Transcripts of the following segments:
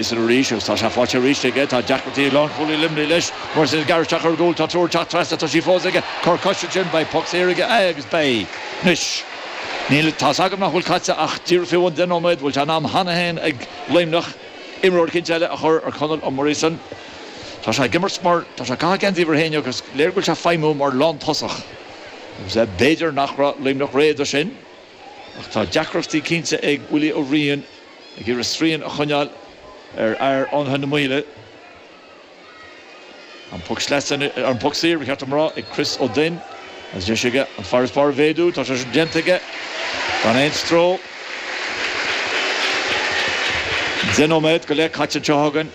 Morrison arís agus tá sé faighte arís aige. Tá deacrachtaí ag lánchúlaí Luimnigh leis. Morrison ag gearradh isteach ar an gcúl. Tá triúr ag teacht trasna. Tá sí fós aige. Cor coise ansin. Beidh poc saor aige agus beidh. Anois, níl, tá's agam nach bhfuil caite ach díreach faoi bhun 10 nóiméad. Bhfuil sé in am cheana féin ag Luimneach imreoir eicínt eile a chur ar Conall Ó Morrison. Tá sé ag imirt mar, tá sé ag caitheamh geansaí uimhir a haon agus léir go bhfuil sé ag feidhmiú mar lántosach. Agus b'fhéidir nach raibh Luimneach réidh do sin. Ach tá deacrachtaí cinnte ag Willie Ó Riain. Ag iarraidh srian a choinneáil ar fhear Fhánaithe na Maoile. An poc sleasa, an poc saor, ba cheart dom a rá, ag Chris Ó Duinn agus deis aige an farasbarr a mhéadú. Tá sé sin déanta aige gan aon stró. 10 nóiméad go leith caite anseo againn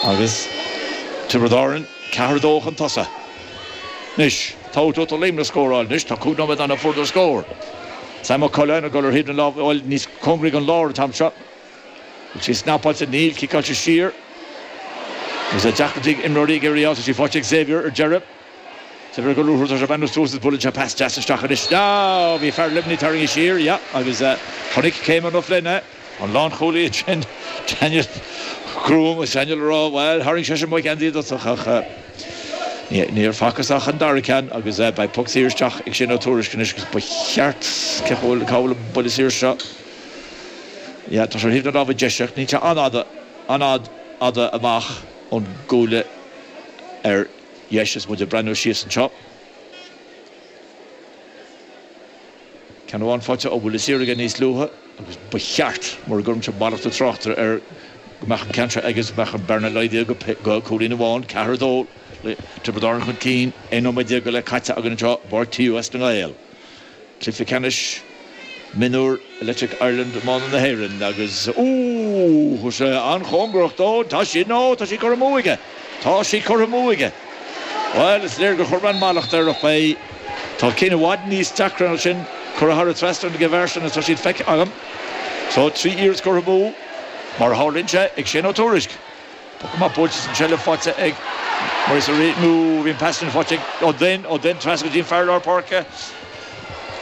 agus Tiobraid Árann 4-2 chun tosaigh. Anois, tá do Luimneach scóráil anois, tá 5 nóiméad ann ó fuaireadar scór. Sam Ó Coileáin ag dul ar thaobh na láimhe, bhuel, níos cóngaraí don lár an t-am seo. Bhfuil sí snapáilte? Níl, ciceáilte siar. Agus deacrachtaí ag imreoirí ag iarraidh, tá sí faighte ag Xavier ar deireadh. Xavier ag dul tá sé ag breathnú suas is buaileann sé pas deas isteach anois. Ah, bhí fear Luimnigh tarraingthe siar, yeah, agus chonaic Cayman O'Flynn é. An lánchúlaí ansin, Daniel Groom, is Daniel a rá, bhuel, tharraing seisean mo gheansaí i dtosach ach níor facthas ach an dara ceann agus beidh poc saor isteach ag Shane Ó Tuairisg anois agus ba cheart, cé chomh, cá bhfuil an buille saor seo? Yeah, tá sé ar thaobh na láimhe deise ach níl sé an-fhada, an-fhada amach ón gcuaille ar dheis is muid ag breathnú síos anseo. Ceann amháin faighte ó bhuille saor aige níos luaithe agus ba cheart, mura gcuirimse mallacht an tráchtaire air, go mbeadh an ceann seo aige agus go mbeadh an bearna laghdaithe go cúilín amháin. 4, 2, Tiobraid Árann chun cinn, 11 nóiméad go leith caite againn anseo i bPáirc TUS na nGael. Cluiche ceannais mionúr Electric Ireland Iomána na hÉireann agus, ooh, tá sé an-chóngarach dó, tá sí, no, tá sí curtha amú aige! Tá sí curtha amú aige! Bhuel, is léir gur chuir mé an mallacht air ach beidh. Tá cinn i bhfad níos deacra ná sin curtha thar an trasnán ag an bhfear sin agus tá siad feicthe agam. So, 3 iarracht curtha amú, mar a tharlaíonn sé, ag Shane Ó Tuairisg. Poc amach buailte is an tseilbh faighte ag Maurice Ó nó bhí an pas sin faighte ag Ó Duinn, Ó Duinn trasna go dtí an fear lár páirce.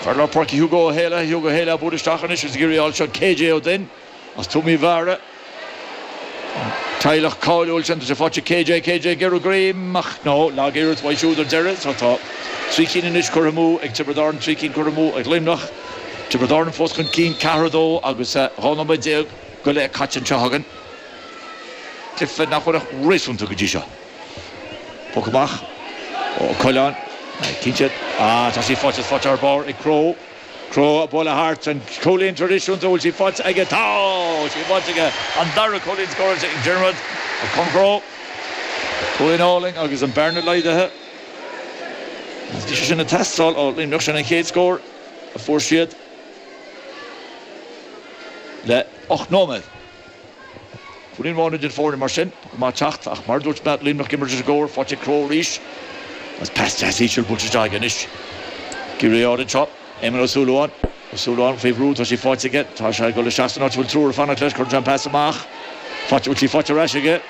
Fear lár páirce Hugo Ó Héalaithe, Hugo Ó Héalaithe ag bualadh isteach anois agus ag iarraidh a fháil seo KJ Ó Duinn. As Tuaim Uí Mheára, an teaghlach cáiliúil sin, tá sé faighte KJ, KJ ag iarraidh greim ach no, lag iarracht uaidh siúd ar deireadh. So tá 3 cinn anois curtha amú ag Tiobraid Árann, 3 cinn curtha amú ag Luimneach. Tiobraid Árann fós chun cinn, 4, 2 agus 12 nóiméad go leith caite anseo againn. Cluiche nach bhfuil ach réasúnta go dtí seo. Poc amach ó Coileáin, cinnte, ah tá sí faighte, faighte thar barr ag Crowe. Crowe ag bualadh thart, an cúilín traidisiúnta, bhfuil sí faighte aige? Tá sí faighte aige! An dara cúilín scóráilte ag Diarmuid Ó Con Crowe. Cúilín álainn agus an bearna laghdaithe. Agus bhí sé sin ag teastáil ó Luimneach, sin an chéad scór a fuair siad le 8 nóiméad. Cúilín amháin idir foirne mar sin, go maith teacht ach mar a dúirt mé, Luimneach ag imirt leis an gcóir, faighte ag Crowe arís agus pas deas íseal buailte isteach aige anois. Ciarraí anseo, Éamonn Ó Súilleabháin, Ó Súilleabháin faoi bhrú, tá sí faighte aige, tá sé ag dul isteach san áit a bhfuil triúr ag fanacht leis, cuireann sé an pas amach, faighte, bhfuil sí faighte ar ais aige?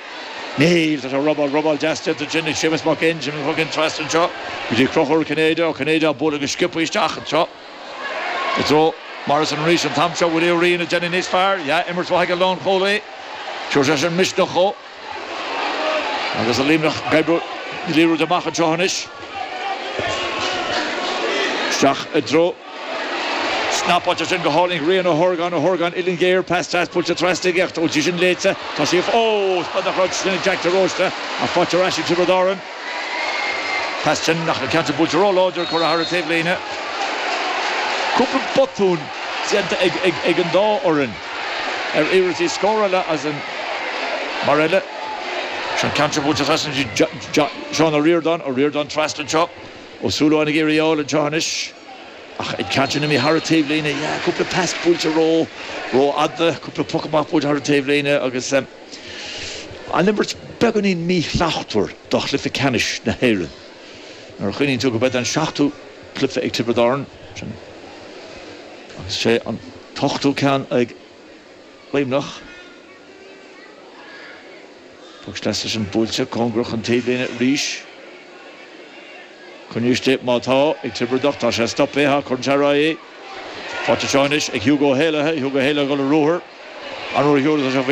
Níl, tá sé robáil, robáil deas déanta ansin ag Séamus Mac Fhinn, Séamus Mac Fhinn trasna anseo go dtí Conchúr Ó Cinnéide, Ó Cinnéide á bualadh go sciobtha isteach anseo. I dtreo Morrison arís an t-am seo. Willie Ó Riain ag déanamh níos fearr. Yeah, imirt mhaith ag an lánchúlaí. Tabharfaidh sé sin misneach dhó. Agus an Luimneach ag oibriú na liathróide amach anseo anois. Isteach i dtreo snapáilte sin go hálainn Rian Ó hOrgáin, Ó hOrgáin, uillinn ghéar, pas deas buailte trasna aige ach bhfuil sí sin léite? Tá sí, ó! Nach raibh sin ag Jack de Róiste ach faighte ar ais ag Tiobraid Árann. Pas sin ach an ceann sin buailte ró-láidir curtha thar an taobhlíne. Cúpla botún déanta ag an dá fhoireann ar iarrachtaí scórála as an mar eile. Seo an ceann seo buailte trasna go Seán Ó Ríordáin, Ó Ríordáin trasna anseo. Ó Súilleabháin ag iarraidh a fháil anseo anois ach an ceann sin imithe thar an taobhlíne. Yeah, cúpla pas buailte ró rófhada, cúpla poc amach buailte thar an taobhlíne agus. An imirt beagáinín míshlachtmhar do chluiche ceannais na hÉireann. Nuair a chuimhníonn tú go mbeidh an seachtú cluiche ag Tiobraid Árann, sin, agus sé an t-ochtú ceann ag Luimneach. Poc sleasa sin buailte cóngarach don taobhlíne arís. Coinnithe istigh má tá ag Tiobraid ach tá sé stoptha, cuireann sé ar aghaidh. Faighte anseo anois ag Hugo Ó hÉallaithe, Hugo Ó hÉallaithe ag dul ar ruathar. An uair a sheoladh sé faoi.